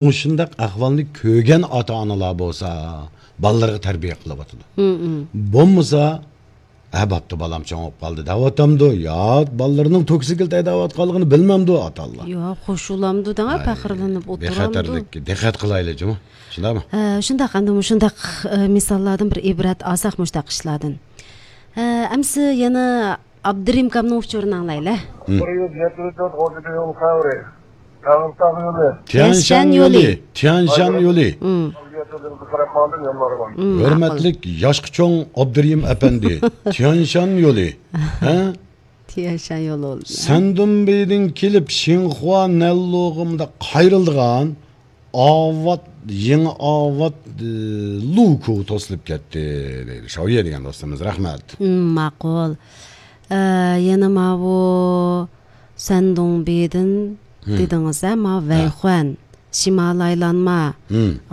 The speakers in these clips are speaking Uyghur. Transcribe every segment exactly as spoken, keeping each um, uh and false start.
مۇشۇنداق ئەھۋالنى كۆرگەن ئاتا-ئانىلار بولسا، بالىلىرىغا تەربىيە قىلىۋاتىدۇ. بولمىسا، ھە، بوپتۇ، بالام چوڭ بولۇپ قالدى دەۋاتامدۇ؟ يا، بالىلىرىنىڭ توكسىكلىتى ھەيدەۋاتقانلىقىنى بىلمەمدۇ ئاتا-ئانىلار؟ يا، خوشۇلامدۇ دەڭە، ئاي، پەخىرلىنىپ ئولتۇرامدۇ؟ بىخەتەرلىككە دىققەت قىلايلى جۇمۇ. شۇنداقمۇ؟ ھە، شۇنداق، ئەمدى مۇشۇنداق، ئە، مىساللاردىن بىر ئىبرەت ئالساق مۇشۇنداق ئىشلاردىن. ھە، ئەمسە يەنە ئابدۇرېھىم ئاكامنىڭ ئۇچۇرىنى ئاڭلايلى. بىر يۈز يەتمىش تۆت ئون يەتتە يول خەۋىرى. تەڭرىتاغ يولى. تيەنشەن يولى. تيەنشەن يولى. مم. مم، ماقۇل. ھۆرمەتلىك ياشقا چوڭ ئابدۇرېھىم ئەپەندى. تيەنشەن يولى. ھە؟ تيەنشەن يولى. سەندۇنبېيدىن كېلىپ شىنخۇا نەنلۇغا قايرىلىدىغان ئاۋات، يېڭى ئاۋات، ئى، لۇكۇ توسۇلۇپ كەتتى دەيدۇ. شاۋيې دېگەن دوستىمىز، رەھمەت. مم، ماقۇل. ئە، يەنە ماۋۇ سەندۇڭبېدىن دېدىڭىز، ھە، ماۋۇ ۋەيخۇەن، شىمالىي ئايلانما،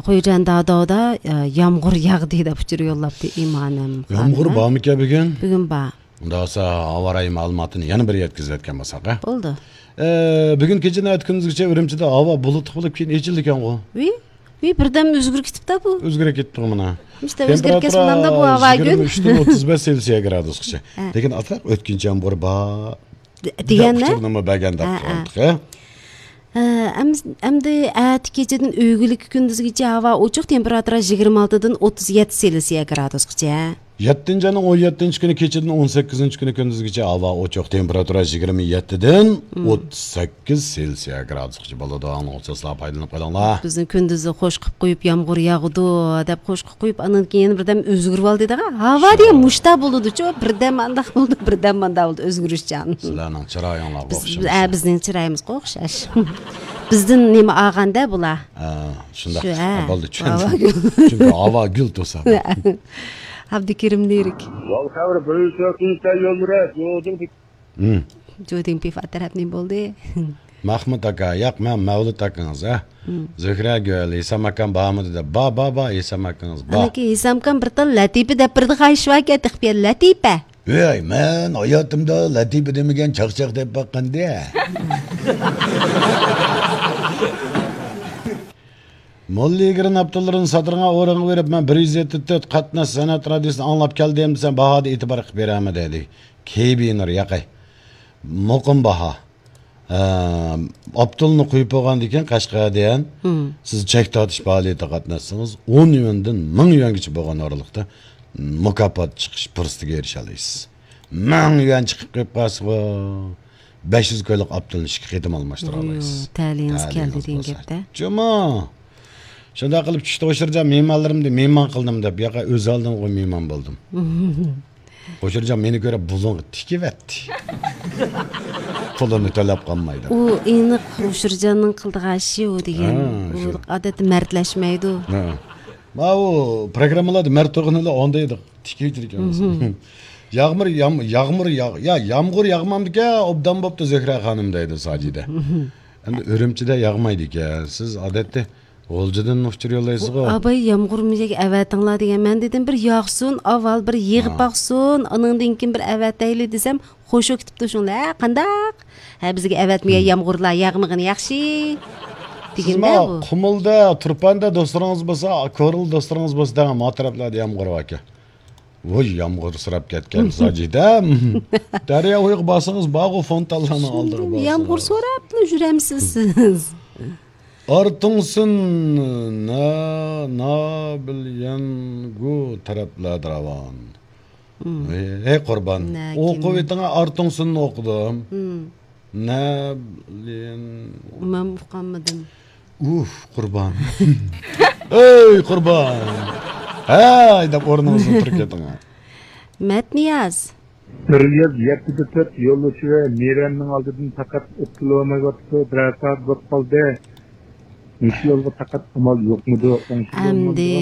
خۇيجەن داداۋدا، ئە، يامغۇر ياغدى دەپ ئۇچۇر يوللاپتۇ ئىمانىم خانىم. يامغۇر بارمىكەن بۈگۈن؟ بۈگۈن بار. ئۇنداق بولسا، ھاۋا رايى مەلۇماتىنى يەنە بىر يەتكۈزۈۋەتكەن بولساق، ھە؟ بولدى. ئە، بۈگۈن كېچىدىن ئەتە كۈندۈزگىچە ئۈرۈمچىدە ھاۋا بۇلۇتلۇق بولۇپ، كېيىن ئېچىلىدىكەنغۇ. ۋىي، ۋىي، بىردەم ئۆزگىرىپ كېتىپتۇ بۇ. ئۆزگىرىپ كېتىپتۇ مانا. ئىشتە ئۆزگىرىپ كەتسە بولامدۇ بۇ ھاۋا كۈن؟ يىگىرمە ئۈچتىن ئوتتۇز بەش سېلسىيە گرادۇسقىچە. ھە. لېكىن ئاتراق ئۆتكۈنچى يامغۇر بار. دېگەننى ئۇچۇرنىمۇ بەرگەندەك قىلدۇق، ھە؟ ئە، ئەم-، ئەمدى ئەتە كېچىدىن ئۆگۈنلۈككە كۈندۈزگىچە ھاۋا ئوچۇق، تېمپېراتۇرا يىگىرمە ئالتىدىن ئوتتۇز يەتتە سېلسىيە گرادۇسقىچە. يەتتىنچى ئاينىڭ ئون يەتتىنچى كۈنى كېچىدىن ئون سەككىزىنچى كۈنى كۈندۈزگىچە ھاۋا ئوچۇق، تېمپېراتۇرا يىگىرمە يەتتىدىن ئوتتۇز سەككىز سېلسىيە گرادۇسقىچە بولىدۇ. ئاڭلىغۇچىلار پايدىلىنىپ قېلىڭلار. بىزنى كۈندۈزى خوش قىلىپ قويۇپ، يامغۇر ياغىدۇ دەپ خوش قىلىپ قويۇپ، ئاندىن كېيىن يەنە بىردەم ئۆزگىرىۋالدى دەڭە. ھاۋا دېگەن مۇشتا بولىدۇچۇ، بىردەم ئانداق بولىدۇ، بىردەم مانداق بولىدۇ، ئۆزگىرىشچان. سىلەرنىڭ چىرايىڭلارغا ئوخشىمىسۇن. بىزنىڭ چىرايىمىزغا ئوخشاش. بىزدىن نېمە ئالغاندا بۇلار؟ ھە، شۇنداق. شۇ، ھە. بولدى، چۈشەندىم. ھاۋا گۈل. چۈنكى ھاۋا گۈل تۇرسا. ئابدۇكېرىم لىرىك. يول خەۋىرى بىر يۈز تۆتىنچى يول رەت، يولدىن. جۇدىڭ پىفا تەرەپ نېمە بولدى؟ مەخمۇت ئاكا، ياق، مەن مەۋلۇت ئاكىڭىز، ھە؟ زۆھرەگۈل، ھېسام ئاكام بارمىدى دەپ. بار، بار، بار، ھېسام ئاكىڭىز بار. ئانىكى ھېسام ئاكام بىر تال لەتىپە دەپ بېرىدىغان ئىش باركەن، تېخى بىر لەتىپە. ۋەي، مەن ھاياتىمدا لەتىپە دېمىگەن چاقچاق دەپ باققاندا. موللا ئىگىرىنى ئاپتوللىرىنى ساتىدىغان ئورۇنغا بېرىپ، مەن بىر يۈز يەتتە تۆت قاتناش سەنئەت رادىيوسىنى ئاڭلاپ كەلدىم دېسەم، باھادا ئېتىبار قىلىپ بېرەلمىدى، دېدى. كېبىنۇر ياقەي. مۇقىم باھا. ئە، ئاپتولنى قويۇپ بولغاندىن كېيىن قەشقەردىن سىز چەك تارتىش پائالىيىتىگە قاتناشسىڭىز، ئون يۈەندىن مىڭ يۈەنگىچە بولغان ئارىلىقتا مۇكاپات چىقىش پۇرسىتىگە ئېرىشەلەيسىز. مىڭ يۈەن چىقىپ قېلىپ قالسىغۇ، بەش يۈز كويلۇق ئاپتولنى ئىككى قېتىم ئالماشتۇرالمايسىز. يو، تەلىيىڭىز كەلدى دېگەن گەپتە. جۇمۇ. شۇنداق قىلىپ چۈشتە ئوشۇرجان مېھمانلىرىمنى مېھمان قىلدىم دەپ، ياقا ئۆز ئالدىمغا مېھمان بولدۇم. ئوشۇرجان مېنى كۆرۈپ بۇلۇڭغا تىكىۋەتتى. پۇلىنى تۆلەپ قالمايدۇ. ئۇ ئېنىق ئوشۇرجاننىڭ قىلىدىغان ئىشى ئۇ دېگەن. ھە، ئۇ شۇ. ئادەتتە مەردلەشمەيدۇ. ھە. ماۋۇ پروگراممىلاردا مەرد تۇرغىنىلا ئاندايدۇ. تىكىۋېتىدىكەنمىز. ياغمۇر، يام-، ياغمۇر ياغ-، يا يامغۇر ياغمامدىكەن، ئوبدان بوپتۇ زۆھرە خانىم دەيدۇ ساجىدە. ئەمدى ئۈرۈمچىدە ياغمايدىكەن. سىز ئادەتتە غۇلجىدىن ئۇچۇر يوللايسىزغۇ؟ ئاباي يامغۇر مۇشەگە ئەۋەتىڭلار دېگەن. مەن دېدىم بىر ياغسۇن، ئاۋۋال بىر يېغىپ باقسۇن، ئانىڭدىن كېيىن بىر ئەۋەتەيلى دېسەم، خوشۇ كېتىپتۇ شۇڭلا. ھە، قانداق؟ ھە، بىزگە ئەۋەتمىگەن يامغۇرلار ياغمىغىنى ياخشى. دېگىندە بۇ. قۇمۇلدا، تۇرپاندا دوستلىرىڭىز بولسا، كورلا دوستلىرىڭىز بولسا دەڭ، ما تەرەپلەردە يامغۇر باركەن. ۋوي، يامغۇر سوراپ كەتكەن ساجىدەم. دەريا بويىغا بارسىڭىز، بارغۇ فونتانلارنىڭ ئالدىغا بارسىڭىز. يامغۇر سوراپلا يۈرەمسىز سىز؟ ئارتۇڭسىن، نا-، نابىليەنگۇ تەرەپلەردە راۋان. ھەي، ھەي قۇربان. ئوقۇۋېتىڭە، ئارتۇڭسىننى ئوقۇدۇم. نەبلىن. مەن ئۇقالمىدىم. ئۇھ، قۇربان. ئۆي، قۇربان. ھەي دەپ ئورنىڭىزدىن تۇرۇپ كېتىڭ. مەتنىياز. بىر يۈز يەتتە تۆت يولۇچى ۋە مىرەننىڭ ئالدىدىن پەقەت ئۆتكىلى بولمايۋاتىدۇ. بىرەر سائەت بولۇپ قالدى. مۇشۇ يولغا پەقەت ئامال يوقمىدۇ؟ ئەمدى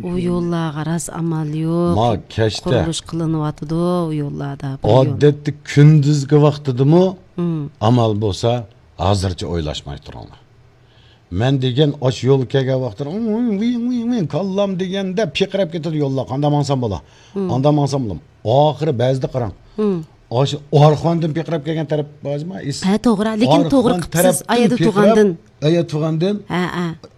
ئۇ يوللارغا راست ئامال يوق. ما كەچتە قۇرۇلۇش قىلىنىۋاتىدۇ ئۇ يوللاردا. بىر يول. ئادەتتە كۈندۈزگى ۋاقتىدىمۇ ئامال بولسا، ھازىرچە ئويلاشماي تۇرۇڭلار. مەن دېگەن ئاشۇ يولغا كەلگەن ۋاقتىدا، ۋىڭ، ۋىڭ، ۋىڭ، ۋىڭ، كاللام دېگەندە پىقىراپ كېتىدۇ يوللار. قانداق ماڭسام بولا؟ قانداق ماڭسام بولا؟ ئاخىرى بەزىدە قاراڭ. ئاشۇ ئارخاندىن پىقىراپ كەلگەن تەرەپ بارمۇ؟ ھە، توغرا. لېكىن توغرا قىپسىز، ئا يەردە تۇغاندىن. ئا يەردە تۇغاندىن. ھە، ھە.